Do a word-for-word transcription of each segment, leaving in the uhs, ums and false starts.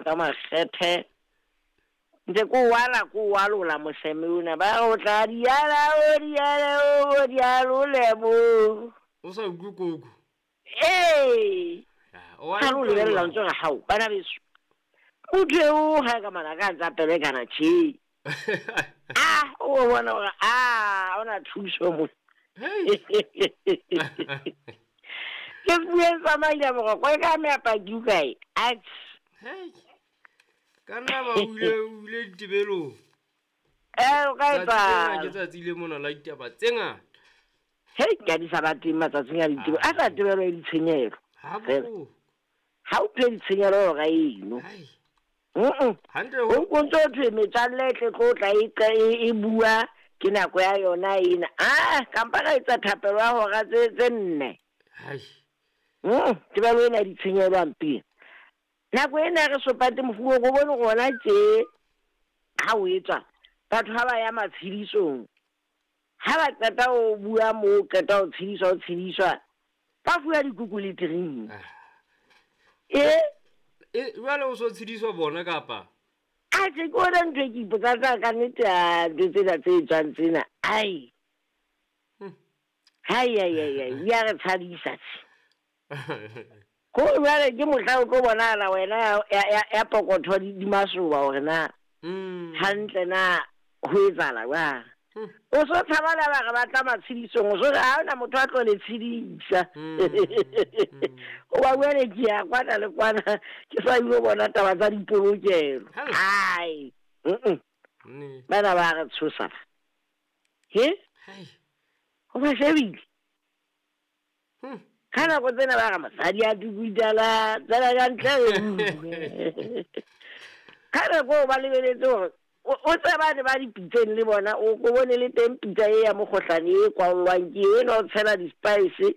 Ka makgethe ntse ko wala ko walola moseme ona ba o tla diala o diala o dialole mo o sa utlwe koko. Ee, O a ga lo utlwa lebelela jwang? Ntse re gao bana beso motho eo ga ka mana ka ntsa pelekana tšhe a o bona gore a ona thuso mo. Hei. Ke bue tsamaile boroko e ka meapaki o kae Atjhe. Hei. Ka nna ba o ile o ile ditebelong. Eh, o ka Tsatsi lena ke etsa tsatsi le mona la ditaba tse ngata. Hei, ke a di sa ba teng matsatsing a ditebo a sa tebelo e ditshenyehelo. Ha Fela. bohloko. Ha o phe ditshenyehelo hora eno. Hai. Mm-mm. Hantle O ho ko ntso thwe metswalle e tle tlo tla e qa- e e bua ke nako ya yona ena. Ah, kampa ka etsa thapelo ya hora tse tse nne. Hai. Mm, tebelo ena ya ditshenyehelo hampe. Nako ena re sopate mofuo go bone gona tje ha o etswa batho ha ba ya matshedisong. Ha ba qeta ho bua moo, qeta ho tshediswa ho tshediswa, ba fuwa dikuku le drink. Ah. E E jwale o so tshediswa bona kapa? Atjhe, ke ona ntho e ke ipotsang ka ka nnete ya ntho tsena tse etswang tsena. Ai. Hmm. Hai, ai, ai, ai, di a re tshabisa tje. Ko jwale ke mohla o tlo bonahala wena ya, ya, ya, ya pokotho di, di masoba hore na Mm. hantle na ho etsahala jwang. Hmm. O so tshaba le ba re ba tla matshedisong, o so re ha hona motho a tlo le tshedisa. Mm. Mm. Hoba jwale ke ya kwana le kwana ke sa ilo bona taba tsa dipolokelo. Hell. Hai. Mm-mm. Nnete. Bana ba re tshosa ba. He? Hai. Ho ba shebile. Hmm. Ka nako tsena ba re mosadi a tukutala, tsena ka ntle re bue. Ka nako eo ba lebeletse hore o, o tseba ne ba dipitseng le bona, o ko bone le teng pitsa e ya mokgohlane e kwallwang ke eo, enwa o tshela di-spice,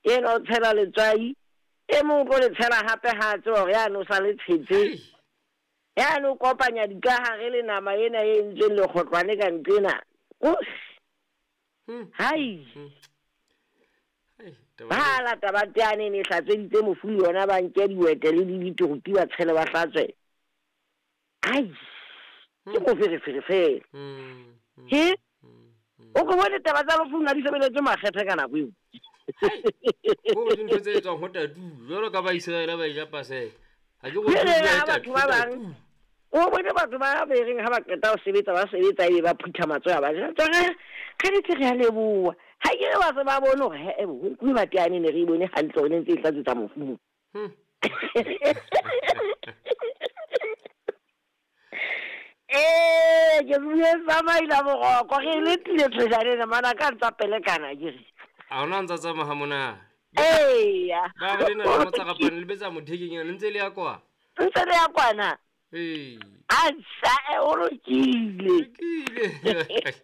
enwa o tshela letswai, e mong o tlo le tshela hape ha a tseba hore yane o sa le tshetse. Hei. Yane o kopanya dikahare le nama ena e entsweng lekgotlwane ka nqena. Osh. Hmm. Hai. Hmm. Hai, taba Ba ena. lata ba teane ne hlatsweditse mofu le yona ba nke diwete le di-beetroot ba tshele ba hlatswe. Ai. Ke Hmm. moferefere fela. Hmm. Hmm. He? Hmm. Hmm. O ko bone taba tsa lefung ha di sebeletse makgethe ka nako eo. Hai. Ko re dintho tse etswang ho tatu, jwalo ka ba Israel ba eja Paseka. Ha ke go Jwale bua ha tatu, batho ba bang, tatu. o bone batho ba bereng ha ba qeta ho sebetsa, ba sebetsa ebe ba phutha matsoho a ba jwetsa hore ka nnete re a leboha. Ha ke re ba se ba bone hore he-eh bo, ho nkuwe mateane ne re e bone hantle hore ne ntse e hlatswetsa mofu moo. Hmm. Eh, ke bue tsamaila boroko, re letile thojane ena, mana ka ntsa pelekana ke re. Ha hona ntsa tsamaya ha monate. Eya. Ba re lena le motsarapane le betsa mothekeng yana, le ntse le ya kwa. Ntse le ya kwana. Ee. Atjha, eh, o lokile. Lokile.